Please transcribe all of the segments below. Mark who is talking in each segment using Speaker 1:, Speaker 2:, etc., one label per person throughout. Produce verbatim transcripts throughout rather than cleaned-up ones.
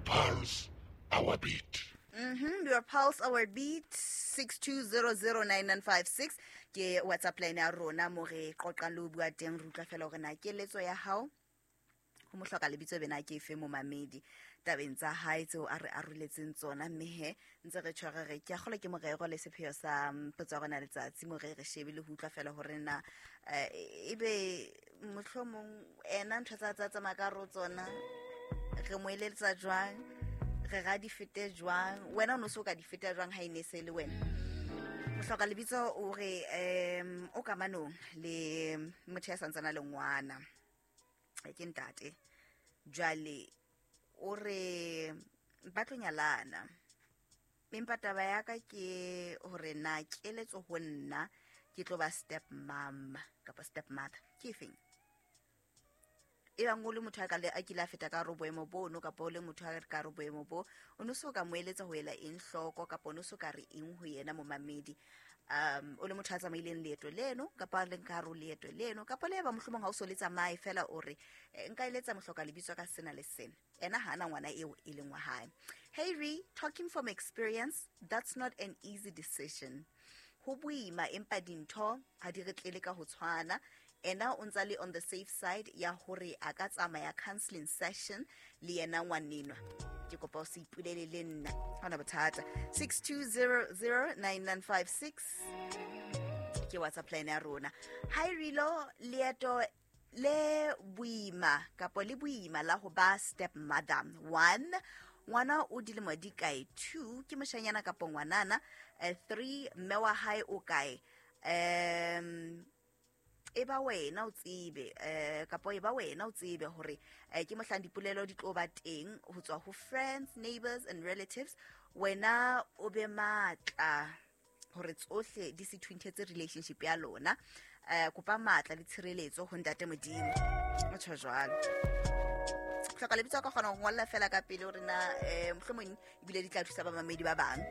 Speaker 1: pulse, our beat.
Speaker 2: Mm-hmm. Your pulse, our beat, six two zero zero nine nine five six. Ke WhatsApp line ya rona mo re qoqang le ho bua teng, re utlwa fela hore na keletso ya hao ho mohloka lebitso bena ke efe momamedi tabeng tsa hae tseo a re aroletseng tsona. Mme he ntse re tshwere re ke a kgolwa ke morero le sepheo sa potso ya rona letsatsi mo re re shebile ho utlwa fela hore na ebe mohlomong ena ntho tsa tsa tsamaya ka ro tsona re mo eletsa jwang, re ra di fete jwang, wena o no so ka di feta jwang ha ene se le wena. Mohloka lebitso o re um o kamanong le motho ya santsana le ngwana ke ntate, jwale o re ba tlo nyalana, empa taba ya ka ke hore na keletso ho nna ke tlo ba step mom kapa step mother ke efeng? E bang o le motho a ka le a kile a feta ka ro boemo bo no, kapa o le motho a ka ro boemo bo, o no so ka mo eletsa ho ela eng hloko, kapa o no so ka re eng ho yena momamedi? Um o le motho a tsamaileng leeto leno kapa le nka ro leeto leno, kapa le ba mohlomong ha o so le tsamaye fela o re nka eletsa mohloka lebitso ka sena le sena, ena ha ana ngwana eo e leng wa hae. Hey Re, talking from experience, that's not an easy decision. Ho boima empa dintho ha di re tlele ka ho tshwana. Ena o ntsa le on the safe side ya hore a ka tsamaya counseling session le yena ngwanenwa. Ke kopa o se ipolele le nna, ha hona bothata. six two zero zero nine nine five six ke WhatsApp line ya rona. Hi Rilo, leeto le boima kapa le boima la ho ba step mother. One, ngwana o dilemo di kae? Two, ke moshanyana kapa ngwanana? Uh, three, mme wa hae o kae? Um e ba wena o tsebe eh kapa e ba wena o tsebe hore ke mohlang dipolelo di tlo ba teng ho tswa ho friends, neighbors and relatives. Wena o be matla hore tsohle di se thunthetse relationship ya lona. Eh kopa matla le tshireletso ho ntate Modimo. O tjho jwalo. Hloka lebitso ka kgona ho ngolla fela ka pele hore na eh mohlomong ebile di tla thusa ba mamedi ba bang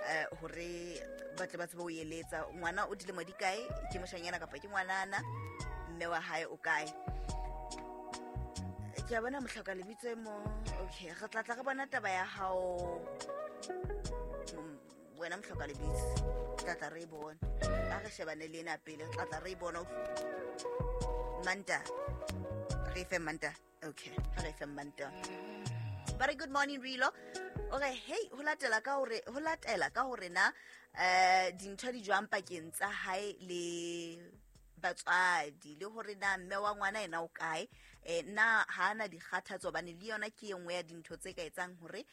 Speaker 2: eh hore ba tle ba tsebe ho eletsa. Ngwana o dilemo di kae, ke moshanyana kapa ke ngwanana, mme wa hae o kae? Ke a bona mohloka lebitso e mo. Okay, re tla tla re bona taba ya hao wena mohloka lebitso, tla tla re bona. A re shebane le ena pele, tla tla re bona. Manta re fe Manta. Okay, re fe Manta. Very good morning Rilo. Okay, hey, ho latela ka hore ho latela ka hore na eh dintho di jwang pakeng tsa hae le batswadi, le hore na mme wa ngwana ena o kae, eh na ha ana dikgathatso, bane le yona ke engwe ya dintho tse ka etsang hore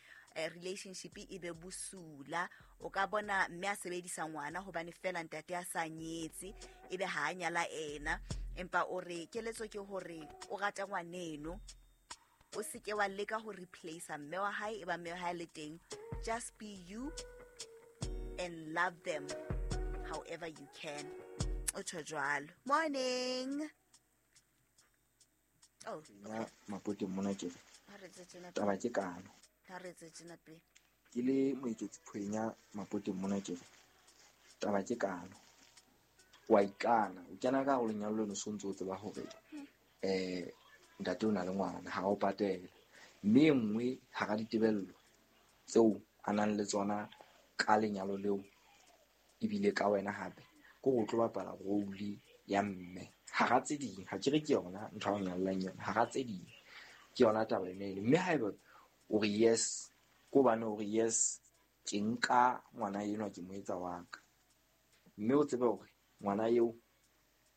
Speaker 2: relationship e be bosula. O ka bona mme a sebedisa ngwana hobane fela ntate a sa nyetse, ebe ha a nyala ena, empa o re keletso ke hore o rata ngwaneno, o seke wa leka ho replace mme wa hae, e ba mme wa hae le teng. Just be you and love them however you can. O tjho jwalo. Morning. Oh,
Speaker 3: ya mapote mona ke taba ke kano.
Speaker 2: Ha re tse tjena pe.
Speaker 3: Ke le moeketsi phwenya mapote mona ke taba ke kano. Wa ikana, o kena ka ho lenyalo leno so ntse o tseba hore eh ntate o na le ngwana, ha o patela. Mme e nngwe hara ditebello tseo a nang le tsona ka lenyalo leo ebile ka wena hape ke ho tlo bapala role ya mme hara tse ding. Ha ke re ke yona ntho ya ho nyallang yona, hara tse ding ke yona taba ena ele. Mme haeba o re yes, ko bane o re yes, ke nka ngwana enwa ke mo etsa wa ka, mme o tsebe hore ngwana eo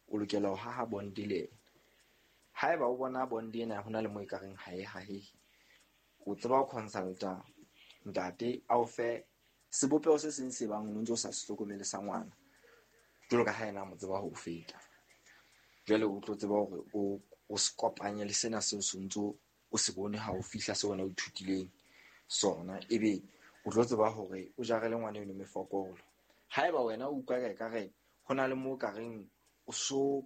Speaker 3: o lokela ho haha bond le yena. Haeba o bona bond ena hona le mo ekareng ha e hahe, o tseba ho consulta ntate a o fe sebopeho se seng se bang o ntse o sa se hlokomele sa ngwana, jwalo ka ha yena a mo tseba ho feta. Jwale o tlo tseba hore o o se kopanye le sena seo se ntso o se bone ha o fihla se wena o ithutileng sona, ebe o tlo tseba hore o jarele ngwana eno mefokolo. Haeba wena o utlwa ka ekare ho na le mo ka reng o so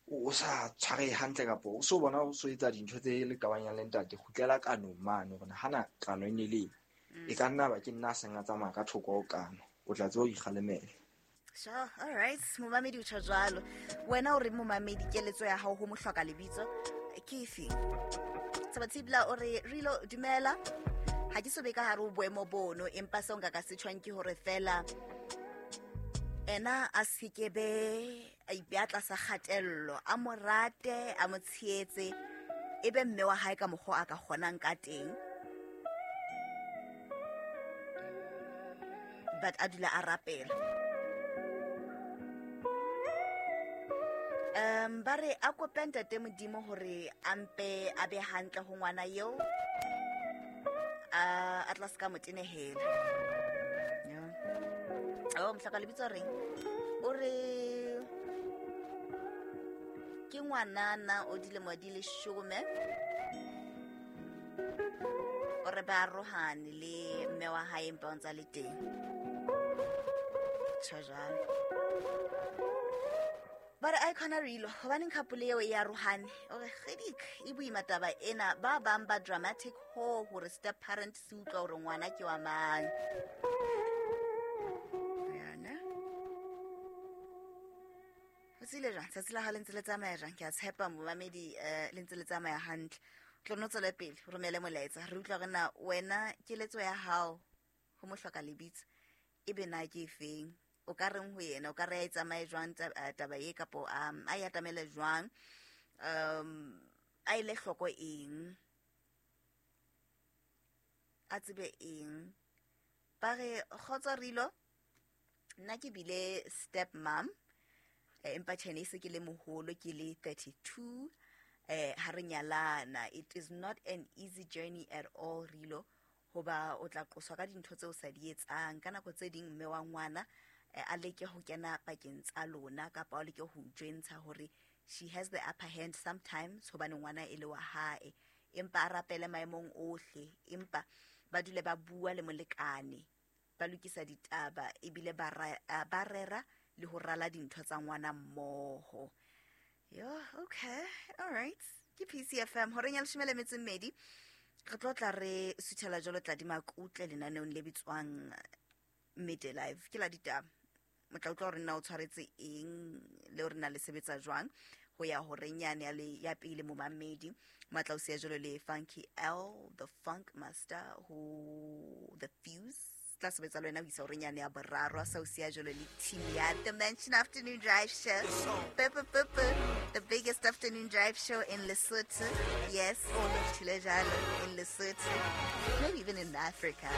Speaker 3: o sa tshware hantle kapa o so bona o so etsa dintho tse le kabanyang le ntate, kgutlela kanong mane hore hana kano e ne le e ka nna ba ke nna a seng a tsamaya ka thoko ho kano, o tla tseba ho ikgalemela.
Speaker 2: Sure, all right. Momamedi o tjho jwalo. Wena o re momamedi keletso ya hao ho mohloka lebitso ke efe? Tsabatsibla o re Rilo dumela. Ha ke so be ka hare ho boemo bono, empa seo nka ka se tjhwang ke hore fela ena a se ke be a ipeha tlasa kgatello, a mo rate, a mo tshehetse, e be mme wa hae ka mokgwa a ka kgonang ka teng. But a dula a rapela. Um, ba re a kope ntate Modimo hore a mpe a be hantle ho ngwana eo, a, a tla se ka mo tenehela. Yeah. Oh, mohlaka lebitso reng? O re ke ngwanana o dilemo di leshome. O re ba arohane le mme wa hae empa o ntsa le teng. Tjho jwalo. Ba re a ikhona rilo, hobaneng couple eo e arohane? O re kgedik, e boima taba ena, ba bang ba dramatic ho hore step parent se utlwa hore ngwana ke wa mang. Yana. Ho tsile jwang? Tsatsi la hao le ntse le tsamaya jwang? Ke a tshepa momamedi, eh, le ntse le tsamaya hantle. Tlo no tswele pele, o romele molaetsa. Re utlwa hore na wena keletso ya hao ho mohloka lebitso ebe na ke efeng? O ka reng ho yena? O ka re a e tsamaye jwang taba e, kapo um, a e atamele jwang? Um, a ile hloko eng? A tsebe eng? Ba re kgotso Rilo, nna ke bile step mom, eh, empa tjhe ne se ke le moholo, ke le thirty-two, eh, ha re nyalana. It is not an easy journey at all, Rilo, hoba o tla qoswa ka dintho tseo o sa di etsang. Ka nako tse ding mme wa ngwana a leke ho kena pakeng tsa lona, kapa o leke ho jwentsha hore she has the upper hand sometimes hobane ngwana e le wa hae, empa a rapele maemong ohle, empa ba dule ba bua le molekane, ba lokisa ditaba ebile ba ba rera le ho rala dintho tsa ngwana mmoho. Yo, okay, all right. Ke P C F M horeng ya leshome le metso e mmedi. Re tlo tla re suthela jwalo tla di makutle lenaneong le bitswang Midday Live. Ke la ditaba. Motla utlwa hore na o tshwaretse eng le hore na le sebetsa jwang ho ya horeng yane ya le ya pele momamedi. Matla o siya jwalo le Funky L, the Funk Master, ho The Fuse. Tla sebetsa le wena ho isa horeng yane ya boraro, a sa o siya jwalo le team ya The Mansion Afternoon Drive Show. Pepe pepe, the biggest afternoon drive show in Lesotho. Yes, Thile jalo in Lesotho. Maybe even in Africa.